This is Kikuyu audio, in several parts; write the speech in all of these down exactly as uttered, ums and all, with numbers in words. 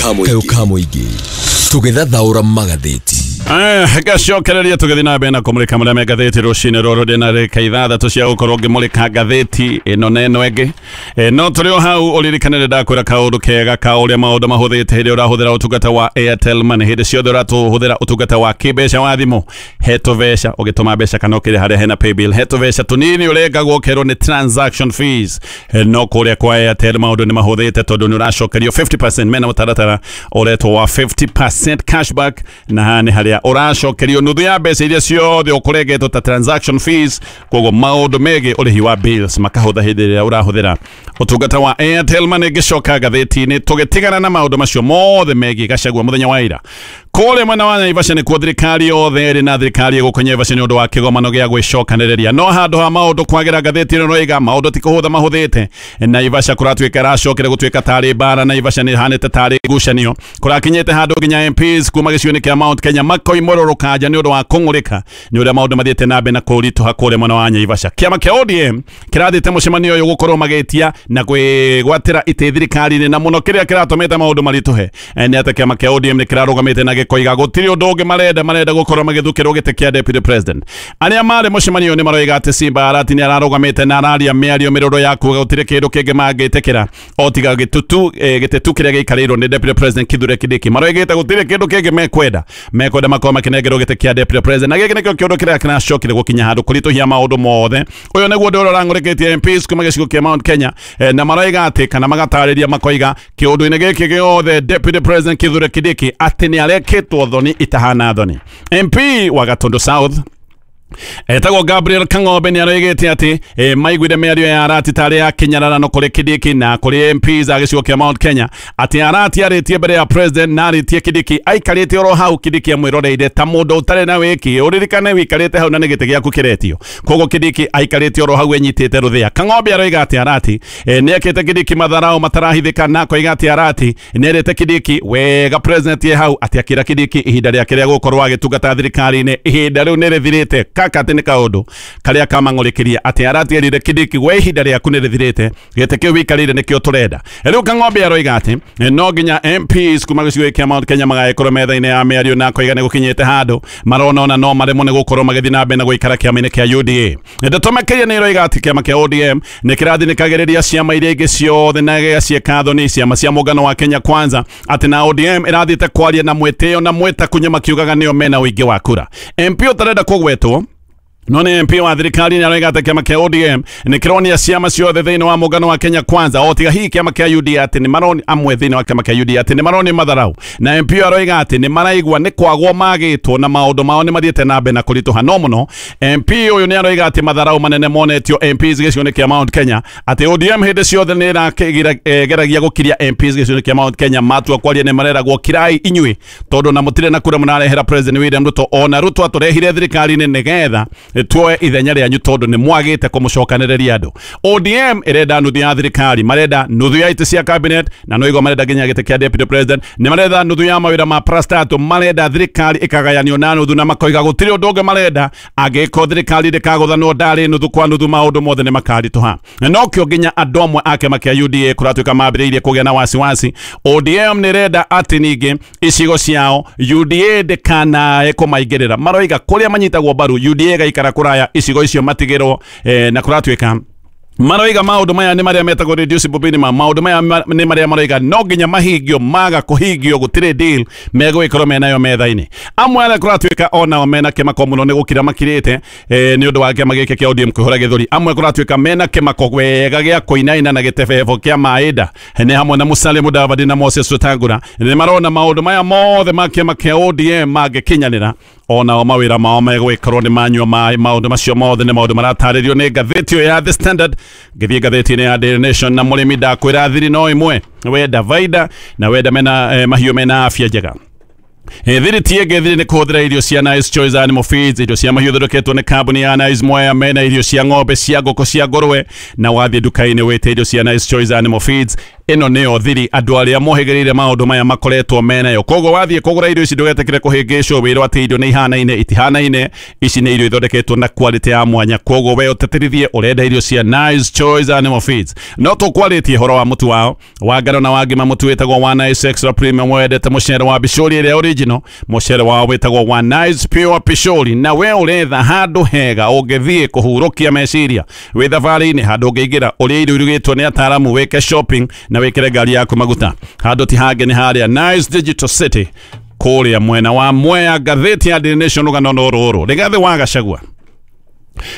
Kayũ ka mũingĩ tũgĩthathaũra magathĩti. Gacokereria tũgĩthiĩ na mbere na kũmũrĩka marĩa me ngathĩti rũcinĩ rũrũ. Ndĩna rĩka ithathatũ cia gũkorwo ngĩmũrĩka ngathĩti ĩno na ĩno ĩngĩ. Eh, no tũrĩ o hau, ũririkane nĩ ndakwĩra kaũndũ kega ka ũrĩa maũndũ mahũthĩte hĩndĩ ĩrĩa ũrahũthĩra ũtungata wa Airtel Money. Hĩndĩ ciothe ũratũhũthĩra ũtungata wa kĩmbeca wa thimũ, he tũbeca ũgĩtũma mbeca kana ũkĩrĩha harĩa hena paybill, he tũbeca tũnini ũrengagwo ũkerwo nĩ transaction fees. Eh, no kũrĩa kwa Airtel maũndũ nĩ mahũthĩte tondũ nĩ ũracokerio fifty percent. Mena mũtaratara ũretwo wa fifty percent cashback, na haha nĩ harĩa ũracokerio nuthu ya mbeca iria ciothe ũkũrengetwo ta transaction fees. Koguo maũndũ megiĩ ũrĩhi wa bills makahũtha hĩndĩ ĩrĩa ũrahũthĩra ũtungata wa Airtel Money. Ngĩcoka ngathĩti-inĩ, tũgĩtigana na maũndũ macio mothe megiĩ Gachagua mũthenya wa ira, kũrĩa mwena wa Naivasha nĩkuo thirikari yothe ĩrĩ na thirikari ĩgũkũ Naivasha nĩ ũndũ wa kĩgomano gĩa gwĩcokanĩrĩria. No handũ ha maũndũ kwagĩra, ngathĩti ĩno ĩroiga maũndũ ti kũhũtha mahũthĩte. Naivasha kũratuĩka ĩracokera gũtuĩka tarĩ mbara. Naivasha nĩ ĩhanĩte tarĩ ngucanio. Kũrakinyĩte handũ nginya M Ps kuma gĩcigo-inĩ kĩa Mount Kenya makoimũrũrũka nja nĩ ũndũ wa kũng'ũrĩka nĩ ũrĩa maũndũ mathiĩte na mbere na kũritũha kũrĩa mwena wa Naivasha. Kĩama kĩa O D M kĩrathiĩte mũcemanio ũyũ gũkorwo magĩtia na kwĩgwatĩra itĩ thirikari-inĩ, na mũno kĩrĩa kĩratũmĩte maũndũ maritũhe eh, nĩ atĩ kĩama kĩa O D M nĩ kĩrarũgamĩte na gĩkoiga gũtirĩ ũndũ ũngĩ marenda marenda gũkorwo magĩthukĩrwo gĩtĩ kĩa deputy president. Arĩa marĩ mũcemanio nĩ maroiga atĩ Simba Arati nĩ ararũgamĩte na araria mĩario mĩrũrũ ya kuga gũtirĩ kĩndũ kĩngĩ mangĩtĩkĩra o tiga gĩtutu eh, gĩtĩ tu kĩrĩa gĩikarĩirwo nĩ deputy president Kithure Kindiki. Maroigĩte gũtirĩ kĩndũ kĩngĩ mekwenda mekwenda makorwo makĩnengerwo gĩtĩ kĩa deputy president, na gĩkĩ nĩkĩo kĩũndũ kĩrĩa kĩracokire gũkinya handũ kũritũhia maũndũ mothe. Ũyũ nĩguo ũndũ ũrĩa ũrang'ũrĩkĩtie M Ps kuma gĩcigo kĩa Mount Kenya, eh, na maroiga atĩ kana magatarĩria makoiga kĩũndũ-inĩ gĩkĩ gĩothe deputy president Kithure Kindiki atĩ nĩ arekĩtwo thoni itahana thoni. M P wa Gatundu South etagwo Gabriel Kang'ombe nĩ aroigĩte atĩ e, maiguire mĩario ya Arati tarĩ ya kĩnyararano kũrĩ Kindiki na kũrĩ M Ps a gĩcigo kĩa Mount Kenya, atĩ Arati arĩtie mbere ya president na arĩtie Kindiki aikarĩte oro hau, Kindiki amwĩroreire ta mũndũ ũtarĩ na wĩki. Ũririkane wĩikarĩte hau na nĩ gĩtĩ gĩaku kĩretio, koguo Kindiki aikarĩte oro hau enyitĩte rũthĩa. Kang'ombe aroiga atĩ Arati e, nĩ ekĩte Kindiki matharao matarahithĩka, na akoiga atĩ Arati nĩ erĩte Kindiki wega president ye hau atĩ akĩra Kindiki ihinda rĩake rĩa gũkorwo agĩtungata thirikari-inĩ ihinda rĩu nĩ rĩthirĩte. Kaka atĩ nĩ kaũndũ karĩa kamang'ũrĩkĩria atĩ Arati erire Kindiki, we ihinda rĩaku nĩ rĩthirĩte, gĩtĩ kĩu wĩikarĩire nĩkĩo tũrenda. Rĩu Kang'ombe aroiga atĩ eh, no nginya M Ps kuma gĩcigo kĩa Mount Kenya magagĩkorwo metha-inĩ ya mĩario, na akoiga nĩ gũkinyĩte handũ marona ona no maremwo nĩ gũkorwo magĩthiĩ na mbere na gũikara kĩama-inĩ kĩa U D A. Ndeto makĩria nĩ ĩroiga atĩ kĩama kĩa O D M nĩ kĩrathinĩkagĩrĩria ciama iria ingĩ ciothe na gĩgaciĩka thoni, ciama cia mũngano wa Kenya Kwanza, atĩ na O D M ĩrathiĩte kwaria na mwĩtĩo na mwĩtakunyo makiugaga nĩo mena ũingĩ wa kura. M P ũtarenda kũgwetwo no nĩ M P wa thirikari nĩ aroiga atĩ kĩama kĩa O D M nĩ kĩronia ciama ciothe thĩinĩ wa mũngano wa Kenya Kwanza o tiga hihi kĩama kĩa U D A, atĩ nĩ maroni amwe thĩinĩ wa kĩama kĩa U D A atĩ nĩ maroni matharau, na M P aroiga atĩ nĩ maraigua nĩ kwagwo magĩtwo na maũndũ mao nĩ mathiĩte na mbere na kũritũha. No mũno M P ũyũ nĩ aroiga atĩ matharau manene monetio M Ps gĩcigo-inĩ kĩa Mount Kenya, atĩ O D M hĩndĩ ciothe nĩ ĩrageragia gũkiria M Ps gĩcigo-inĩ kĩa Mount Kenya. Matua kwaria nĩ mareragwo kirai inyuĩ tondũ na mũtirĩ na kura mũrarehera President William Ruto, ona Ruto atũrehire thirikari-inĩ nĩgetha tuoe ithenya rĩanyu tondũ nĩ mwagĩte kũmũcokanĩrĩria andũ. O D M ĩrenda nuthu ya thirikari, marenda nuthu ya itĩ cia cabinet, na no igua marenda nginya gĩtĩ kĩa deputy president, nĩ marenda nuthu ya mawĩra ma parastatal, marenda thirikari ĩkagayanio na nuthu, na makoiga gũtirĩ ũndũ ũngĩ marenda. Angĩkorwo thirikari ndĩkagũthanwo ndarĩ nuthu kwa nuthu, maũndũ mothe nĩ makaritũha. Na nokĩo nginya andũ amwe a kĩama kĩa U D A kũratuĩka mambĩrĩirie kũgĩa na wasiwasi. O D M nĩ ĩrenda atĩ ningĩ icigo ciao U D A ndĩkanae kũmaingĩrĩra. Maroiga kũrĩa manyitagwo mbaru U D A ĩgaikara kũraya, icigo icio matigĩrwo, eh, na kũratuĩka maroiga maũndũ maya nĩ marĩa metagwo reducible minimum. Maũndũ maya ma- nĩ marĩa maroiga no nginya mahingio, maga kũhingio gũtirĩ deal megũgĩkorwo menayo metha-inĩ. Amwe arĩa kũratuĩka onao mena kĩmako mũno nĩ gũkira makirĩte eh, nĩ ũndũ wa kĩama gĩkĩ kĩa O D M kwĩhũra gĩthũri. Amwe kũratuĩka mena kĩmako wega gĩa kũinaina na gĩtebebo kĩa maĩnda nĩ hamwe na Musalia Mudavadi na Moses Wetangula. Nĩ marona maũndũ maya mothe ma kĩama kĩa O D M mangĩkinyanĩra, onao mawĩra mao megũgĩkorwo nĩ manyua maĩ. Maũndũ macio mothe nĩ maũndũ maratarĩrio nĩ ngathĩti ĩyo ya The Standard. Ngĩthiĩ ngathĩti-inĩ ya Daily Nation, na mũrĩmi ndakwĩra thiri no ĩmwe, wenda vaida na wenda mena eh, mahiũ mena afya njega. Eh, thiri ti ĩngĩ, thiri nĩ kũhũthĩra irio cia Nice Choice Animal Feeds, irio cia mahiũ thondeketwo nĩ kambuni ya Nice Mwea. Mena irio cia ng'ombe, cia ngũkũ, cia ngũrwe, na wathiĩ nduka-inĩ wĩte irio cia Nice Choice Animal Feeds. Ĩno nĩyo thiri andũ arĩa mohĩgĩrĩire maũndũ maya makoretwo menayo. Koguo wathiĩ kũgũra irio ici ndũgetĩkĩre kũhĩngĩcwo wĩrwo atĩ irio nĩ ihanaine, itihanaine. Ici nĩ irio ithondeketwo na quality ya mwanya. Koguo we ũtĩtĩrithie ũrenda irio cia Nice Choice Animal Feeds. No tũkwarĩtie ũhoro wa mũtu wao wa ngano na wa ngima. Mũtu wĩtagwo wa Nice Extra Premium, wendete mũcere wa bicũri ĩrĩa original, mũcere wao wĩtagwo wa Nice Pure Pishori. Na we ũretha handũ hega ũngĩthiĩ kũhurũkia meciria wĩ thabarĩ-inĩ, handũ ũngĩingĩra ũrĩa irio irugĩtwo nĩ ataaramu, wĩke shopping na wĩkĩre ngari yaku maguta. Handũ ti hangĩ nĩ harĩa Nice Digital City kũrĩa mwena wa Mwea. Ngathĩti ya Daily Nation rũgano no rũrũ, Rigathĩ wa Gachagua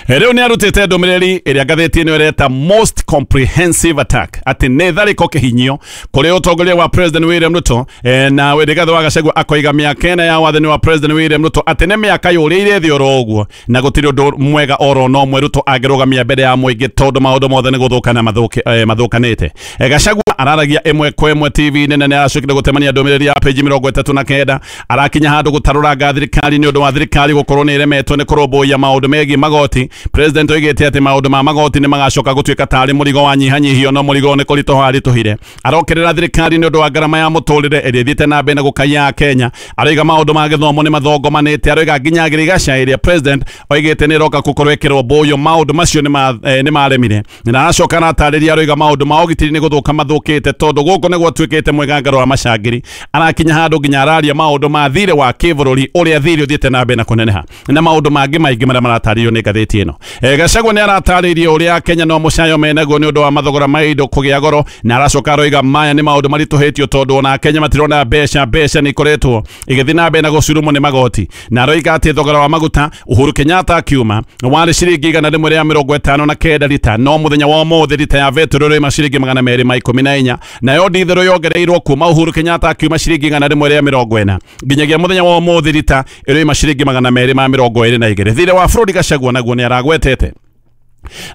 rĩu nĩ arutĩte ndũmĩrĩri ĩrĩa ngathĩti ĩno ĩreta most comprehensive attack, atĩ nĩ tharĩko kĩhinyio kũrĩ ũtongoria wa President William Ruto. eh, na Rigathĩ wa Gachagua akoiga mĩaka ĩna ya wathani wa President William Ruto atĩ nĩ mĩaka yũrĩire thĩ oro ũguo, na gũtirĩ ũndũ mwega oro no mwe Ruto angĩrũgamia mbere ya mũingĩ tondũ maũndũ mothe nĩ gũthũkana mathũke, eh, mathũkanĩte. eh, Gachagua araragia ĩmwe kwa ĩmwe T V nene, nĩ aracokire gũtemania ndũmĩrĩri ya peji mĩrongo ĩtatũ na kenda. Arakinya handũ gũtarũranga thirikari nĩ ũndũ wa thirikari gũkorwo nĩ ĩremetwo nĩ kũrũmbũiya maũndũ megiĩ magoti. President oigĩte atĩ maũndũ ma magoti nĩ magacoka gũtuĩka tarĩ mũrigo wa nyihanyihio, no mũrigo nĩ kũritũha aritũhire. Arokerera thirikari nĩ ũndũ wa ngarama ya mũtũrĩre ĩrĩa ĩthiĩte na mbere na gũkaiya Kenya. Aroiga maũndũ ma gĩthomo nĩ mathongomanĩte. Aroiga nginya ngirigaca ĩrĩa president oigĩte nĩ ĩroka gũkorwo ĩkĩrwo mbũyũ, maũndũ macio nĩ maremire. Na aracoka aratarĩria, aroiga maũndũ ma ũgitĩri nĩ gũthũka mathũkĩte tondũ gũkũ nĩ gwatuĩkĩte mwĩgangaro wa macangiri. Arakinya handũ nginya araria maũndũ ma thirĩ wa kĩbũrũri ũrĩa thirĩ ũthiĩte na mbere na kũneneha na maũndũ mangĩ maingĩ marĩa maratarĩrio nĩ ngathĩti ĩno. Gachagua nĩ aratarĩirie ũrĩa Kenya no mũcayo menaguo nĩ ũndũ wa mathogora ma indo kũgĩa goro, na aracoka aroiga maya nĩ maũndũ maritũhĩtio tondũ ona Kenya matirona mbeca, mbeca nĩ ikoretwo igĩthiĩ na mbere na gũcurumwo nĩ magoti. Na aroiga atĩ thogora wa maguta Uhuru Kenyatta akiuma warĩ ciringi igana rĩmwe rĩa mĩrongo ĩtano na kenda rita, no mũthenya wa ũmũthĩ rita ya betũrũ ĩrĩ ciringi magana merĩ ma ikũmi na inya, nayo nditherũ yongereirwo kuma Uhuru Kenyatta akiuma ciringi igana rĩmwe rĩa mĩrongo ĩna nginyagia mũthenya wa ũmũthĩ rita ĩrĩ ciringi magana merĩ ma mĩrongo ĩrĩ na igĩrĩ. Thirĩ wa bũrũri Gachagua naguo nĩ aragwetete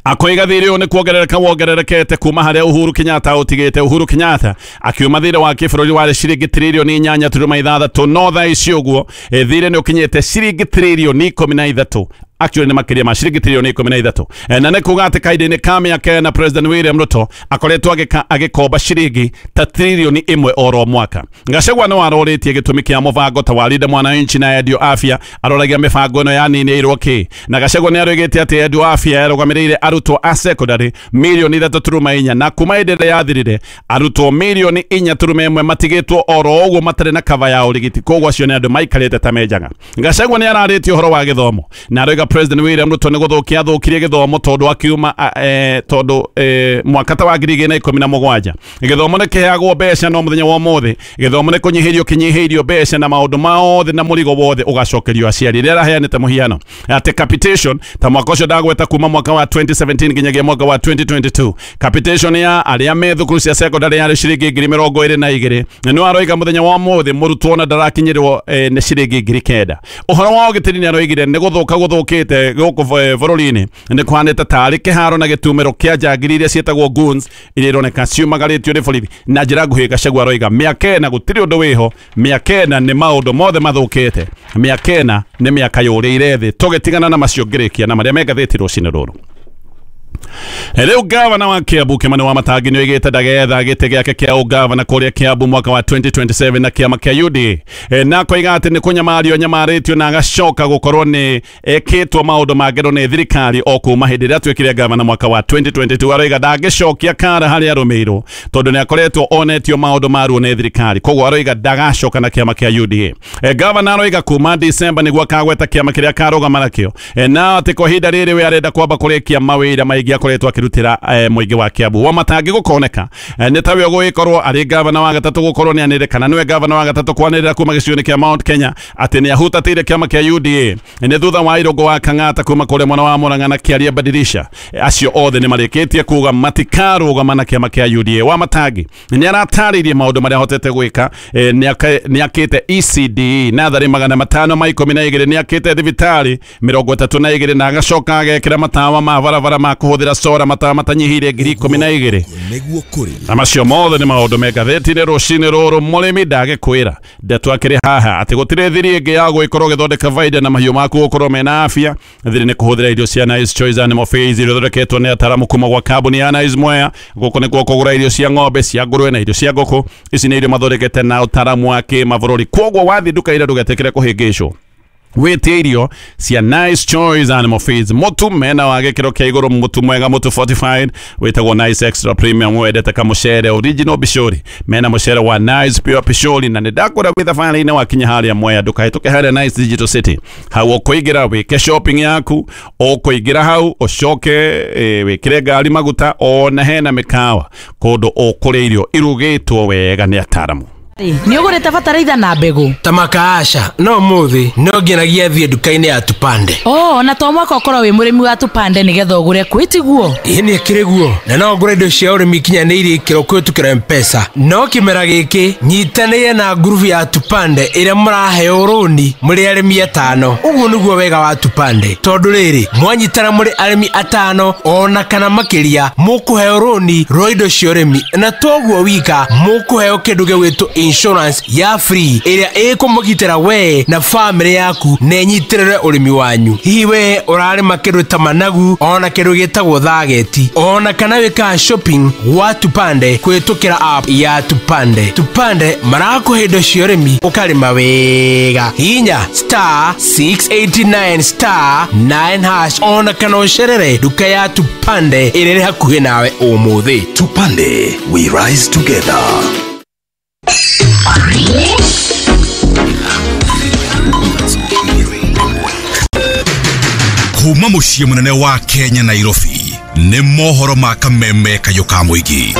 akoiga thirĩ ũyũ nĩ kuongerereka wongererekete kuma harĩa Uhuru Kenyatta ũtigĩte. Uhuru Kenyatta akiuma thirĩ wa kĩbũrũri warĩ ciringi tririoni inyanya turuma ithathatũ, no thaa ici ũguo thirĩ nĩ ũkinyĩte ciringi tririoni ikũmi na ithatũ, actually nĩ makĩria ma ciringi tririoni ikũmi na ithatũ. Na nĩ kuga atĩ kahinda-inĩ ka mĩaka ĩna President William Ruto akoretwo agĩkomba ciringi ta tririoni ĩmwe oro mwaka. Gachagua nĩ warorĩtie gĩtũmi kĩa mũbango ta wa Linda Mwananchi na Endio Afya, aroragia mĩbango ĩno yaninĩirwo kĩ. Na Gachagua nĩ aroigĩte atĩ Endio Afya yarũgamĩrĩire arutwo a secondary mirioni ithatũ turuma inya, na kuma hĩndĩ ĩrĩa yathirire arutwo mirioni inya turuma ĩmwe matigĩtwo oro ũguo matarĩ na kava ya ũrigiti, koguo acio nĩ andũ maikarĩte ta menjaga. Gachagua nĩ ararĩtie ũhoro wa gĩthomo na aroiga President William Ruto nĩ gũthũkia athũkirie gĩthomo tondũ akiuma eh, tondũ eh, mwaka ta wa ngiri igĩrĩ na ikũmi na mũgwanja gĩthomo nĩ kĩheagwo mbeca, no mũthenya wa ũmũthĩ gĩthomo nĩ kũnyihĩrio kĩnyihĩirio mbeca na maũndũ mothe na mũrigo wothe ũgacokerio aciari. Rĩrĩa araheanĩte mũhiano atĩ capitation ta mwaka ũcio ndagweta kuma mwaka wa twenty seventeen nginyagia mwaka wa twenty twenty-two capitation ya arĩa me thukuru cia secondary yarĩ ciringi ngiri mĩrongo ĩrĩ na igĩrĩ, na nĩ aroiga mũthenya wa ũmũthĩ mũrutwo ona ndarakinyĩrwo eh, nĩ ciringi ngiri kenda. Ũhoro wa ũgitĩri nĩ aroigire nĩ gũthũka gũthũkĩte gũkũ bũrũri-inĩ, nĩ kũhanĩte tarĩ kĩharo na gĩtumĩro kĩa njangiri iria ciĩtagwo goons iria ironeka ciumagarĩtio nĩ borithi. Na njĩra nguhĩ Gachagua aroiga mĩaka ĩna gũtirĩ ũndũ wĩho, mĩaka ĩna nĩ maũndũ mothe mathũkĩte, mĩaka ĩna nĩ mĩaka yũrĩire thĩ. Tũgĩtigana na macio ngĩrĩkia na marĩa me ngathĩti rũcinĩ rũrũ. Rĩu gavana wa Kiambu Kimani Wamatangi nĩ oigĩte ndagetha gĩtĩ gĩake kĩa ũgavana kũrĩa Kiambu mwaka wa twenty twenty-seven na kĩama kĩa U D A, na akoiga atĩ nĩ kũnyamario nyamarĩtio na agacoka gũkorwo nĩ ekĩtwo maũndũ ma ngero nĩ thirikari o kuma hĩndĩ ĩrĩa atuĩkire gavana mwaka wa twenty twenty-two. Aroiga ndangĩcokia kara harĩa arũmĩirwo tondũ nĩ akoretwo onetio maũndũ maruo nĩ thirikari, koguo aroiga ndagacoka na kĩama kĩa U D A. Gavana aroiga kuma December nĩguo akagweta kĩama kĩrĩa akarũgama nakĩo, na atĩ kwa ihinda rĩrĩ we arenda kwamba kũrĩkia mawĩra maingĩ akoretwo akĩrutĩra mũingĩ wa Kiambu. Wamatangi gũkoneka nĩ tawe ũgũgĩkorwo arĩ gavana wa gatatũ gũkorwo nĩ anĩrĩre kana nĩwe gavana wa gatatũ kwanĩrĩra kuma gĩcigo-inĩ kĩa Mount Kenya atĩ nĩ ahutatĩire kĩama kĩa U D A nĩ thutha wa Irũngũ wa Kang'ata kuma kũrĩa mwena wa Murang'a na Kĩaria Badirisha. Acio othe nĩ marĩkĩtie kuga matikarũgama na kĩama kĩa U D A. Wamatangi nĩ aratarĩirie maũndũ marĩa ahotete gwĩka, nĩ akĩte E C D natharĩ magana matano ma ikũmi na igĩrĩ, nĩ akĩte thibitarĩ mĩrongo ĩtatũ na igĩrĩ, na agacoka agekĩra matawa ma barabara ma kũhũthĩra ũkĩhũthĩra solar matawa matanyihĩire ngiri ikũmi na igĩrĩ. Nĩguo kũrĩ. Na macio mothe nĩ maũndũ me ngathĩti-inĩ rũcinĩ rũrũ. Mũrĩmi ndagĩkwĩra ndeto akĩrĩ haha atĩ gũtirĩ thiri ĩngĩ ya gũgĩkorwo ũgĩthondeka baida na mahiũ maku gũkorwo mena afya. Thiri nĩ kũhũthĩra irio cia Nice Choice Animal Feeds iria ithondeketwo nĩ ataramu kuma gwa kambuni ya Nice Mwea. Gũkũ nĩkuo kũgũra irio cia ng'ombe, cia ngũrwe na irio cia ngũkũ. Ici nĩ irio mathondekete na ũtaramu wa kĩmabũrũri. Kwoguo wathiĩ nduka ira ndũgetĩkĩre kũhĩngĩcwo, wĩtie irio cia Nice Choice Animal Feeds. Mũtu mena wa gĩkĩro kĩa igũrũ, mũtu mwega, mũtu fortified wĩtagwo Nice Extra Premium, wendete kamũcere original bishori, mena mũcere wa Nice Pure Pishori. Na nĩndakũra wĩ thabarĩ-inĩ wakinya harĩa Mwea, ndũkahĩtũke harĩa Nice Digital City. Hau ũkũingĩra wĩke shopping yaku, ũkũingĩra hau ũcoke e, wĩkĩre ngari maguta, ona hena mĩkawa kũndũ ũkũrĩa irio irugĩtwo wega nĩ ataramu. Nĩ ũgũrĩte bataraitha na mbegũ? Ta makaasha no mũthĩ no ngenagia thiĩ nduka-inĩ ya Tupande. Oh, na to mwaka ũkorwo wĩ mũrĩmi wa Tupande nĩgetha ũgũre kwĩ tiguo? Ĩĩ nĩ ĩkĩrĩ guo, na no ngũre indo cia ũrĩmi ikinyanĩirie ikĩro kũhĩtũkĩra M-Pesa. No kĩmera gĩkĩ nyitanĩire na ngurubu ya Tupande ĩrĩa mũraheo rũni mũrĩ arĩmi atano. Ũguo nĩguo wega wa Tupande, tondũ rĩrĩ mwanyitana mũrĩ arĩmi atano ona kana makĩria, mũkũheo rũni rwa indo cia ũrĩmi, na toguo wika mũkũheo kĩndũ gĩgwĩtwo insurance ya free ĩrĩa ĩkũmũgitĩra we na family yaku na ĩnyitĩrĩre ũrĩmi wanyu. Hihi we ũrarĩma kĩndũ ta managu ona kĩndũ gĩtagwo thageti, ona kana wĩkaga shopping gwa Tupande kũhĩtũkĩra app ya Tupande. Tupande marakũhe indo cia ũrĩmi ũkarĩma wega. Hinya star six eight nine star nine hash ona kana ũcerere nduka ya Tupande ĩrĩa ĩrĩ hakuhĩ nawe ũmũthĩ. Tupande, we rise together. Kuma muciĩ mũnene wa Kenya Nairobi nĩ mohoro ma kameme kayũ ka mũingĩ.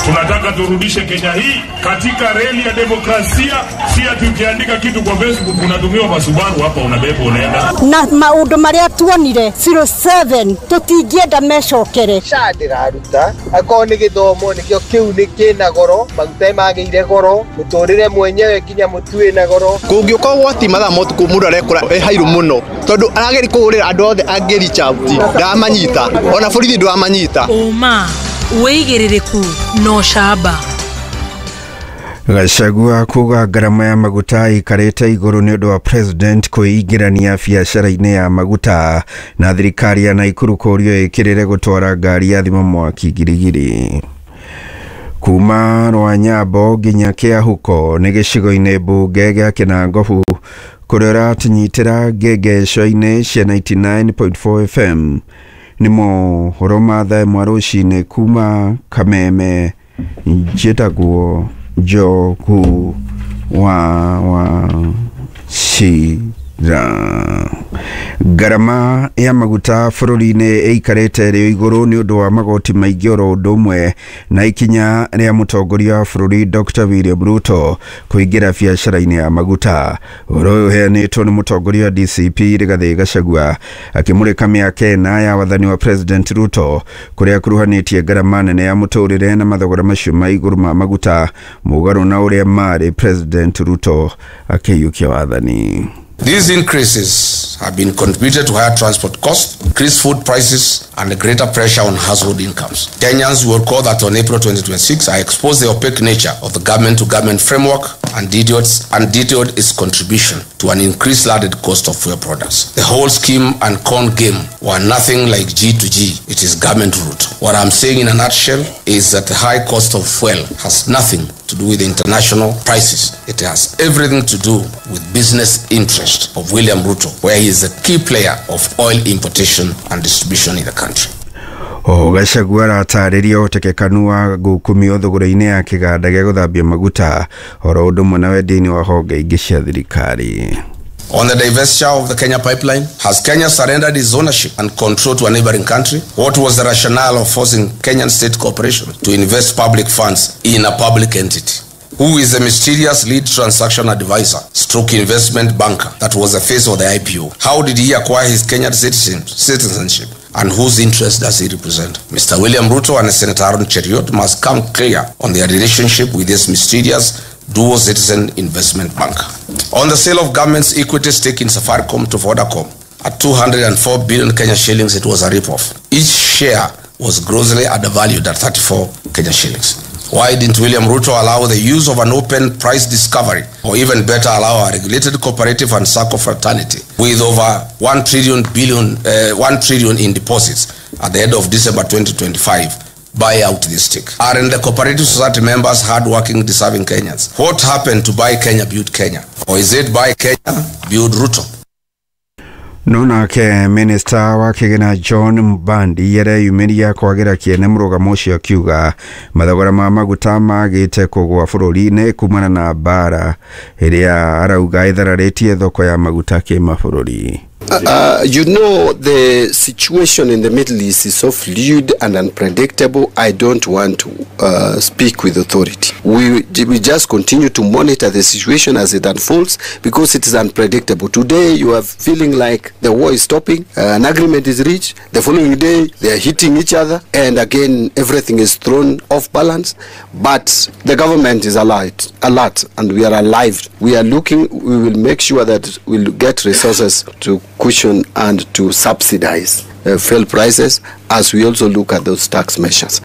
Tunataka turudishe Kenya hii katika reli ya demokrasia, si ati ukiandika kitu kwa Facebook unatumiwa masubaru hapa unabeba unaenda. Na maundu maria tuonire zero seven tutingienda mecokere. Sha ndiraruta akorwo nĩ gĩthomo nĩkĩo kĩu nĩ kĩna goro, maguta magĩire goro, mũtũrĩre mwenyewe nginya mũtu wĩna goro. Kũngĩũka ũgwati mathaa ma ũtukũ mũndũ arekora e hairũ mũno tondũ arageria kũhũrĩra andũ othe angĩ reach out ndamanyita, ona borithi ndwamanyita. Ũma wĩigĩrĩrĩku no camba. Gachagua kuga ngarama ya maguta ikarĩte igũrũ nĩ ũndũ wa president kwĩingĩrania biacara-inĩ ya maguta, na thirikari ya Naikuru kũũrio ĩkĩrĩre gũtwara ngari ya thima mwaki Girigiri. Kuma Rwanyambo nginya Kĩahuko nĩ gĩcigo-inĩ mbunge gĩa Kĩnangobu kũrĩa ũratũnyitĩra ngengesho-inĩ cia ninety nine point four F M. Nĩ mohoro ma thaa ĩmwe rũcinĩ kuma Kameme. Njĩtagwo Njogu wa wa Shira. Ngarama ya maguta bũrũri-inĩ ĩikarĩte ĩrĩ igũrũ nĩ ũndũ wa magoti maingĩ oro ũndũ ũmwe na ikinya rĩa mũtongoria wa bũrũri Doctor William Ruto kũingĩra biacara-inĩ ya maguta. Ũhoro ũyũ ũheanĩtwo nĩ mũtongoria wa D C P Rigathĩ Gachagua akĩmũrĩka mĩaka ĩna ya wathani wa President Ruto kũrĩa akuruhanĩtie ngarama nene ya mũtũrĩre na mathogora macio ma igũrũ ma maguta mũgarũ na ũrĩa marĩ President Ruto akĩiyũkia wathani. These increases have been contributed to higher transport costs, increased food prices, and a greater pressure on household incomes. Kenyans will recall that on April twenty twenty-six, I exposed the opaque nature of the government-to-government framework and detailed, and detailed its contribution to an increased landed cost of fuel products. The whole scheme and con game were nothing like G to G. It is government route. What I'm saying in a nutshell is that the high cost of fuel has nothing to do with international prices. It has everything to do with business interest of William Ruto, where he is a key player of oil importation and distribution in the country. O Gachagua aratarĩria ũhotekekanu wa gũkumio thogora-inĩ ya kĩganda gĩa gũthambia maguta oro ũndũ ũmwe na wendia-inĩ wa honge ingĩ cia thirikari. On the divestiture of the Kenya pipeline, has Kenya surrendered its ownership and control to a neighboring country? What was the rationale of forcing Kenyan state corporation to invest public funds in a public entity? Who is the mysterious lead transaction advisor, stroke investment banker that was the face of the I P O? How did he acquire his Kenyan citizen, citizenship? And whose interest does he represent? Mister William Ruto and Senator Aaron Cheruiyot must come clear on their relationship with this mysterious dual citizen investment banker. On the sale of government's equity stake in Safaricom to Vodacom at two hundred four billion Kenya shillings, it was a rip-off. Each share was grossly undervalued at thirty-four Kenya shillings? Why didn't William Ruto allow the use of an open price discovery, or even better, allow a regulated cooperative and SACCO fraternity with over one trillion billion, uh, one trillion in deposits at the end of December twenty twenty-five, buy out this stick? Aren't the cooperative society members hardworking, deserving Kenyans? What happened to Buy Kenya, Build Kenya? Or is it Buy Kenya, Build Ruto? No nake minista wa kigina John Mbandi yareyumiria kwagira kiene murugamo ucio akiuga mathogora ma maguta magite kugwa bururi-ini kumana na mbara iria arauga ithararitie thoko ya maguta kimabũrũri. Uh, you know, the situation in the Middle East is so fluid and unpredictable. I don't want to uh, speak with authority. We, we just continue to monitor the situation as it unfolds, because it is unpredictable. Today you are feeling like the war is stopping, uh, an agreement is reached. The following day they are hitting each other, and again everything is thrown off balance. But the government is alert, alert, and we are alive. We are looking, we will make sure that we'll get resources to cushion and to subsidize uh, fuel prices, as we also look at those tax measures.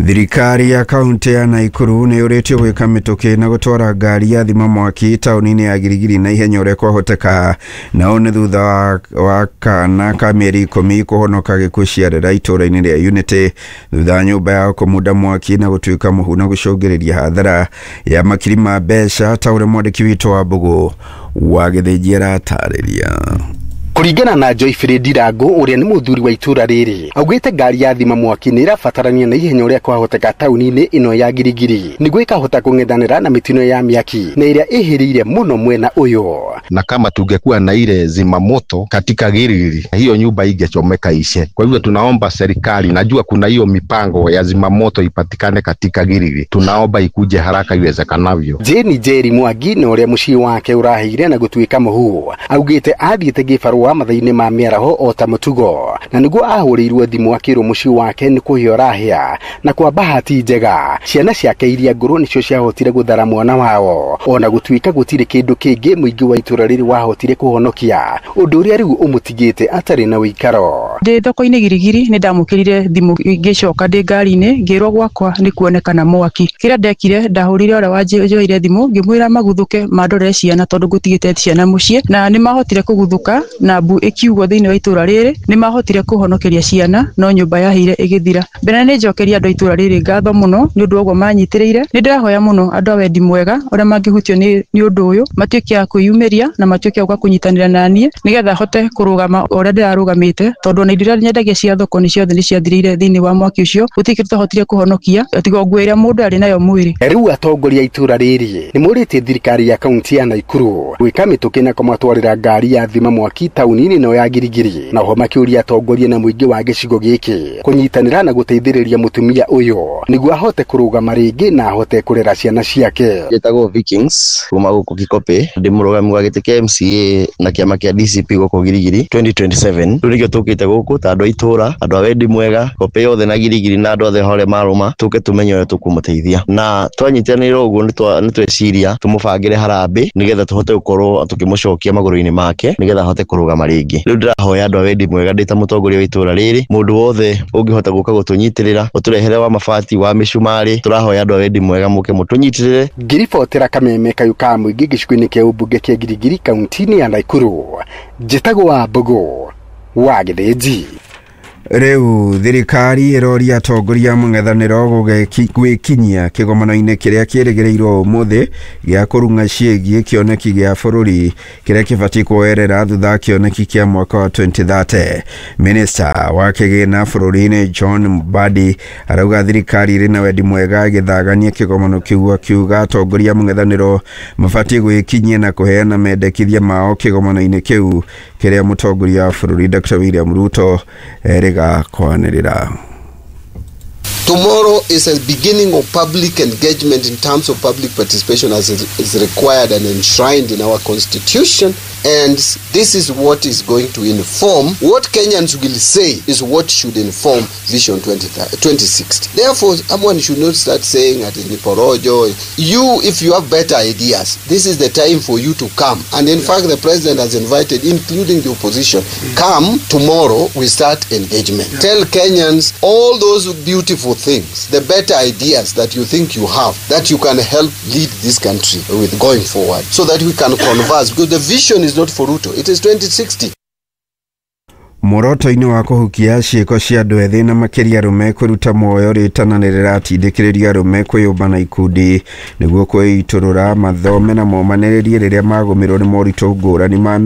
Thirikari ya kaunti ya Nakuru nĩ yũrĩtio gwĩka mĩtũkĩ na gũtwara ngari ya thima mwaki taũni-inĩ ya Girigiri na ihenya ũrĩa kwahoteka, nao nĩ thutha wa, wa kana ka mĩeri ikũmi kũhonoka gĩkuũ ciarera itũũra-inĩ rĩa Unity thutha wa nyũmba yao kũmunda mwaki na gũtuĩka mũhu na gũcũngĩrĩria hathara ya makiri ma mbeca, ta ũrĩa mwandĩki witũ wa Mbũgũ wa Gĩthĩnji aratarĩria. Kuringana na Joy Fredi Rango uria ni muthuri wa itura riri, augite ngari ya thima mwaki ni irabatarania na ihenya uria kwahoteka tauni-ini ino ya Girigiri niguo ikahota kung'ethanira na mitino ya miaki na iria ihiriire muno mwena uyu. Na kama tungekuwa na ile zimamoto katika Girigiri, hiyo nyumba ingechomeka ishe. Kwa hivyo tunaomba serikali, najua kuna hiyo mipango ya zimamoto ipatikane katika Girigiri, tunaomba ikuje haraka iwezekanavyo. Jeni Jerry Mwangi na uria mucii wake urahire na gutuika muhu augite athiite gibarua mathaini ma miaraho o ta mutugo na niguo ahũrĩirwo thimũ akĩrwo mũciĩ wake nĩ kũhĩa ũrahĩa, na kwa bahati njega ciana ciake iria ngũrũ nĩcio ciahotire gũthara mwana wao, ona gũtuĩka gũtirĩ kĩndũ kĩngĩ mũingĩ wa itũra rĩrĩ wahotire kũhonokia, ũndũ ũrĩa rĩu ũmũtigĩte atarĩ na ũikaro. Ndĩ thoko-inĩ Girigiri nĩ ndamũkĩrire thimũ ngĩcoka ndĩ ngari-inĩ ngĩrwo gwakwa nĩ kuonekana mwaki. Kĩrĩa ndekire ndahũrire ũrĩa wanjoire thimũ ngĩmwĩra maguthũke mandorere ciana tondũ ngũtigĩte ciana mũciĩ, na nĩ mahotire kũguthũka na mbu ĩkiugwo thĩinĩ wa itũra rĩrĩ nĩ mahotire kũhonokeria ciana no nyũmba yahĩire ĩgĩthira. Mbere nĩ njokeria andũ a itũra rĩrĩ ngatho mũno nĩ ũndũ wa ũguo manyitĩrĩire. Nĩ ndĩrahoya mũno andũ a wendi mwega ũrĩa mangĩhutio nĩ ũndũ ũyũ matuĩke a kwĩyumĩria na matuĩke a gũka kũnyitanĩra na niĩ nĩgetha hote kũrũgama ũrĩa ndĩrarũgamĩte, tondũ ona indo iria nyendagia cia thoko nĩ ciothe nĩ ciathirire thĩinĩ wa mwaki ũcio, gũtirĩ kĩndũ twahotire kũhonokia tiga nguo ĩrĩa mũndũ arĩ nayo mwĩrĩ. Rĩu atongoria a itũra rĩrĩ nĩ morĩtie thirikari ya kaunti ya Nakuru gwĩka mĩtũkĩ na kũmatwarĩra ngari ya thima mwaki tauni-inĩ ĩno ya Girigiri, na oho makĩũria atongoria na mũingĩ wa gĩcigo gĩkĩ kũnyitanĩra na gũteithĩrĩria mũtumia ũyũ nĩguo ahote kũrũgama rĩngĩ na ahote kũrera ciana ciake. Njĩtagwo Vikings kuma gũkũ Kikopĩ, ndĩ mũrũgami wa gĩtĩ kĩa M C A na kĩama kĩa D C P gũkũ Girigiri twenty twenty-seven. Rĩu nĩkĩo tũkĩte gũkũ ta andũ a itũra, andũ a wendi mwega, Kopĩ yothe na Girigiri na andũ othe harĩa marũma, tũke tũmenye ũrĩa tũkũmũteithia, na twanyitanĩra ũguo nĩ tweciria tũmũbangĩre harambĩ nĩgetha tũhote gũkorwo tũkĩmũcokia magũrũ-inĩ make nĩgetha ahote kũrũgama rĩngĩ. Rĩu ndĩrahoya andũ a wendi mwega ndĩ ta mũtongoria wa itũra rĩrĩ, mũndũ wothe ũngĩhota gũka gũtũnyitĩrĩra, ũtũrehere wa mabati wa mĩcumarĩ, tũrahoya andũ a wendi mwega mũke mũtũnyitĩrĩre. Ngĩribotera Kameme kayũ ka mũingĩ gĩcigo-inĩ kĩa ũmbunge kĩa Girigiri kaunti-inĩ ya Nakuru, njĩtagwo wa Mbũgũ wa Gĩthĩnji. Rĩu thirikari ĩroria atongoria mũng'ethanĩro gwĩkinyia kĩgomano-inĩ kĩrĩa kĩrĩgĩrĩirwo ũmũthĩ gĩa kũrung'a ciĩgiĩ kĩoneki gĩa bũrũri kĩrĩa kĩbatiĩ kuoerera thutha wa kĩoneki kĩa mwaka wa twenty thirty. Minista wa kĩgĩna bũrũri-inĩ John Mbadi arauga thirikari ĩrĩ na wendi mwega ĩgĩthagania kĩgomano kĩu, akiuga atongoria mũng'ethanĩro mabatiĩ gwĩkinyia na kũheana mendekithia mao kĩgomano-inĩ kĩu kĩrĩa mũtongoria wa bũrũri Doctor William Ruto erĩga kwanĩrĩra. Tomorrow is a beginning of public engagement in terms of public participation as is required and enshrined in our constitution. And this is what is going to inform what Kenyans will say is what should inform Vision twenty sixty. Therefore, someone should not start saying at Niporojo, you, if you have better ideas, this is the time for you to come. And in fact, the president has invited, including the opposition, come tomorrow, we start engagement. Yeah. Tell Kenyans all those beautiful things, the better ideas that you think you have, that you can help lead this country with going forward, so that we can converse. Because the vision is not for Ruto, it is twenty sixty. Muoroto-inĩ wa kũhukia ciĩko cia andũ ethĩ na makĩria arũme kwĩruta muoyo rĩtana nĩ rĩratindĩkĩrĩria arũme kwĩyũmba na ikundi nĩguo kwĩitũrũra mathome na momanĩrĩrie rĩrĩa magũmĩrwo nĩ moritũ ngũrani ma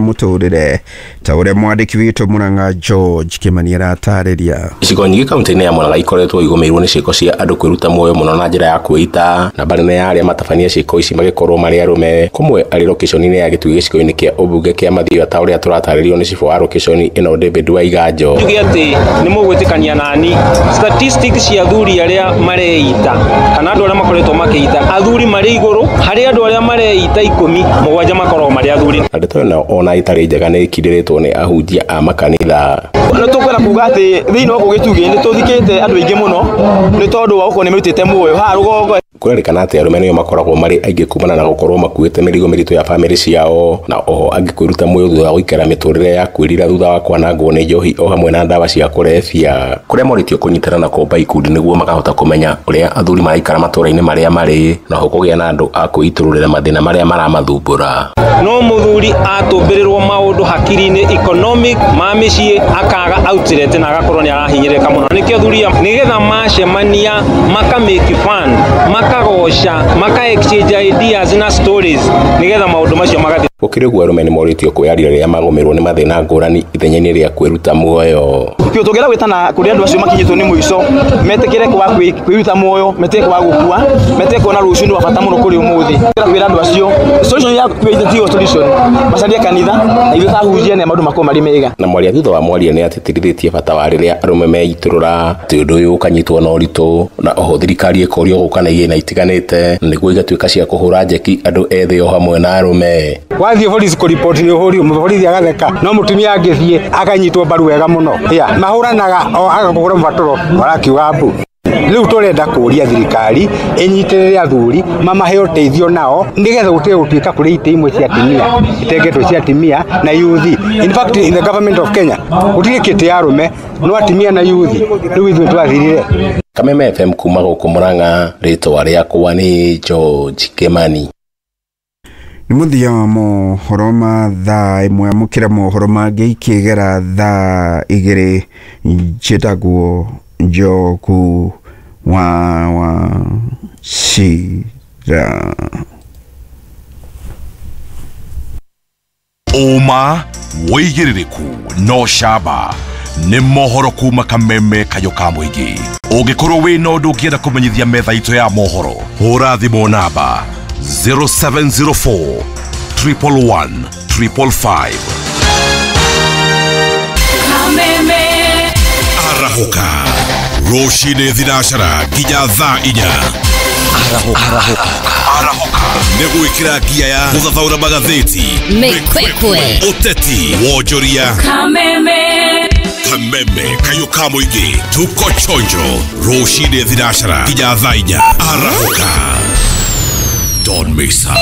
mũtũrĩre ta ũrĩa mwandĩki witũ Murang'a George Kĩmani aratarĩria. Icigo nyingĩ kaunti-inĩ ya Murang'a ikoretwo igũmĩirwo nĩ ciĩko cia andũ kwĩruta muoyo mũno na njĩra ya kwĩita. Namba nene ya arĩa matabania ciĩko ici magĩkorwo marĩ arũme, kũmwe arĩ location-inĩ ya Gĩtui gĩcigo-inĩ kĩa ũmbunge kĩa Mathioya ta ũrĩa tũratarĩrio nĩ cibũ wa location ĩno David Waiganjo. Njuge atĩ nĩ mũgwĩtĩkania nani statistics cia athuri arĩa mareita kana andũ arĩa makoretwo makĩita, athuri marĩ igũrũ harĩ andũ arĩa mareita ikũmi, mũgwanja makoragwo marĩ athuri. Na ndeto ĩno ona ĩtarĩ njega nĩ ĩkindĩrĩtwo nĩ ahunjia a makanitha. Nĩ tũkwenda kuga atĩ thĩinĩ wa gũgĩtugĩ nĩ tũthikĩte andũ aingĩ mũno nĩ tondũ wa gũkorwo nĩ merutĩte muoyo haha rũgongo. Kũrerĩkana atĩ arũme nĩo makoragwo marĩ aingĩ kumana na gũkorwo makuĩte mĩrigo mĩritũ ya bamĩrĩ ciao, na oho angĩ kwĩruta muoyo thutha wa gũikara mĩtũrĩre ya kwĩrira thutha wa kwanangwo nĩ njohi o hamwe na ndawa cia kũrebia, kũrĩa morĩtio kũnyitana na kũmba ikundi nĩguo makahota kũmenya ũrĩa athuri maraikara matũũra-inĩ marĩa marĩ na oho kũgĩa na andũ a kwĩitũrũrĩra mathĩna marĩa maramathumbũra. No mũthuri atũmbĩrĩrwo maũndũ hakiri-inĩ economic ma mĩciĩ akaga outlet na agakorwo nĩ arahinyĩrĩka mũno. Nĩkĩo athuri nĩgetha macemania maka make fun, makagoca, maka exchange ideas na stories nĩgetha maũndũ macio magathiĩ. Gũkĩrĩ ũguo arũme nĩ morĩtio kwĩyaria rĩrĩa magũmĩrwo nĩ mathĩna ngũrani ithenya-inĩ rĩa kwĩruta muoyo. Kĩo tũngĩenda gwĩtana kũrĩ andũ acio makinyĩtwo nĩ mũico metĩkĩre kwa kwĩruta muoyo, metĩkĩre kwa gũkua, metĩkĩre kuona rũciũ nĩ wa bata mũno kũrĩ ũmũthĩ. Kwĩra andũ acio solution ya kwĩita tiyo solution, macarie kanitha na ithuĩ tahunjia na maũndũ makorwo marĩ mega. Na mwaria thutha wa mwaria nĩ atĩtĩrithĩtie bata wa rĩrĩa arũme meitũrũra atĩ ũndũ ũyũ ũkanyitwo na ũritũ, na oho thirikari ĩkorio gũka na igĩna itiganĩte nĩguo igatuĩka cia kũhũra njeki andũ ethĩ o hamwe na arũme. Wathiĩ borithi kũriboti nĩ ũhũri borithi agatheka, no mũtumia angĩthiĩ akanyitwo mbaru wega mũno. Ya mahũranaga o agakũhũra mũbatũro marakiuga mbu. Rĩu tũrenda kũria thirikari ĩnyitĩrĩre athuri mamahe ũteithio nao nĩgetha gũtige gũtuĩka kũrĩ itĩ imwe cia atumia itengetwo cia atumia na youth. In fact, in the government of Kenya gũtirĩ kĩtĩ ya arũme no atumia na youth. Rĩu ithuĩ twathirire. Kameme F M kuma gũkũ Murang'a, rĩtwa rĩakwa nĩ George Kĩmani. Nĩ mũthia wa mohoro ma thaa ĩmwe, amũkĩra mohoro mangĩ ikĩgera thaa igĩrĩ. Njĩtagwo Njogu wa Wachira. Ũma wĩigĩrĩrĩku no camba nĩ mohoro kuma Kameme kayũ ka mũingĩ. Ũngĩkorwo wĩna ũndũ ũngĩenda kũmenyithia metha itũ ya mohoro, hũra thimũ namba zero seven zero four triple one triple five. Kameme Arahũka rũcinĩ thinacara nginya thaa inya. Arahũka Arahũka nĩ gwĩkĩra ngia ya gũthathaũra magathĩti, mĩkwekwe, ũteti, wonjoria. Kameme Kameme kayũ ka mũingĩ, tuko chonjo rũcinĩ thinacara nginya thaa inya. Arahũka, don't miss out.